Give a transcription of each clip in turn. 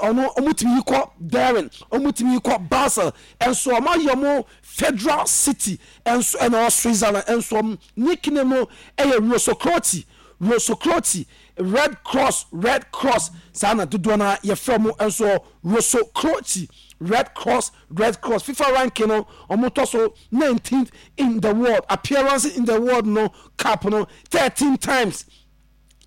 Ɔno ɔmo tumi yi kɔ Bern, ɔmo tumi yi kɔ Basel nso. Ɔmo ayɛ ɔmo federal city nso ɛna ɔwɔ Switzerland nso. Ɔmo nickname no ɛyɛ Rossocrociati, Rossocrociati, Red Cross, Red Cross. Saa na dodoɔ no yɛfrɛ mo nso, Rossocrociati, Red Cross, Red Cross. FIFA ranking no, ɔmo tɔ so 19th in the world. Appearance in the world no cup no, 13 times,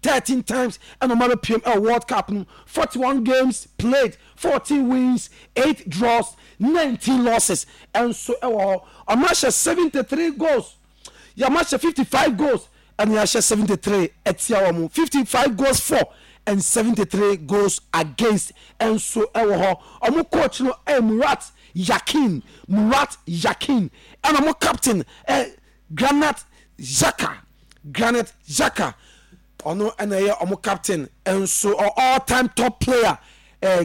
13 times ɛna ɔmo abɛpiem ɛwɔ World Cup no. 41 games played, 14 wins, 8 draws, 19 losses ɛnso ɛwɔ hɔ. Ɔmo ahyɛ 73 goals, yɛmo ahyɛ 55 goals ɛna yɛahyɛ 73 ɛtia wɔn. 55 goals for and 73 goals against ɛnso ɛwɔ hɔ. Ɔmo coach no ɛyɛ Murat Yakin, Murat Yakin, ɛna ɔmo captain ɛ Granit Xhaka, Granit Xhaka. Ɔno ɛna ɛyɛ ɔmo captain ɛnso, all time top player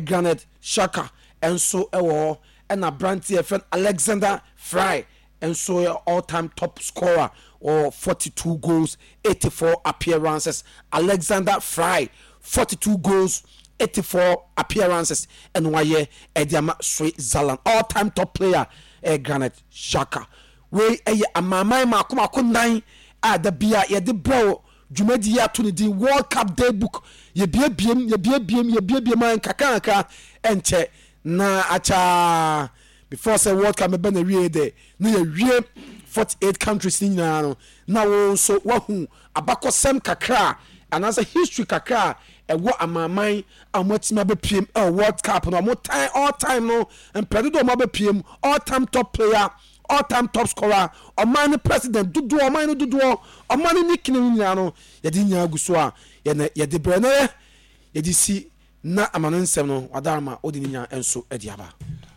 Granit Xhaka ɛnso ɛwɔ hɔ. Ɛna aberanteɛ yɛfrɛ Alexander Frei nso yɛ all time top scorer, wɔ 42 goals, 84 appearances. Alexander Frei, 42 goals, 84 appearances ɛna wayɛ ɛde ama Switzerland. All time top player Granit Xhaka. Wei ɛyɛ amaaman mako mako nan a da bia yɛde brɛw dwumadi yi ato ne din World Cup Day Book. Yɛbiebiem, yɛbiebiem, yɛbiebiem a nkakra ɛnkyɛ na akyaa before sɛ World Cup mɛbɛ na wie de na yɛwie 48 countries ne nyinaa no, na wo nso wahu abakɔsɛm kakra anaasɛ history kakra a ɛwɔ amaaman a wɔatumi abɛpiem ɛwɔ World Cup no. Wɔn time, all time no, mpɛ dodoɔ wɔn abɛpiem, all time top player, all time top scorer, ɔman no president dodoɔ, ɔman no dodoɔ, ɔman no nickname no nyinaa no, yɛde nyinaa gu so a yɛne yɛde brɛ no yɛ yɛde si na ama no nsɛm no wadarama wode ne nyinaa nso de aba.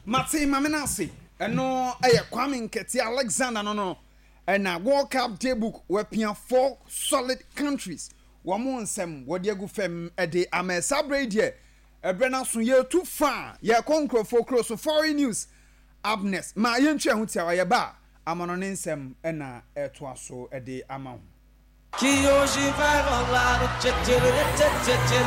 Mate maame no ase. Ɛno ɛyɛ Kwame Nkɛte Alexander no ɛna World Cup Daybook wɔapia four solid countries wɔn mo nsɛm wɔde agu fam ɛde ama. Saa berɛ yi deɛ, ɛberɛ no aso, yɛtu fa a yɛkɔ nkurɔfoɔ kuro so. Foreign news up next. Ma yɛntwa ɛho tiawa, yɛba a ama no ne nsɛm ɛna ɛtoa so ɛde ama ho. Que hoje vai rolar o tchê tchê tchê tchê tchê.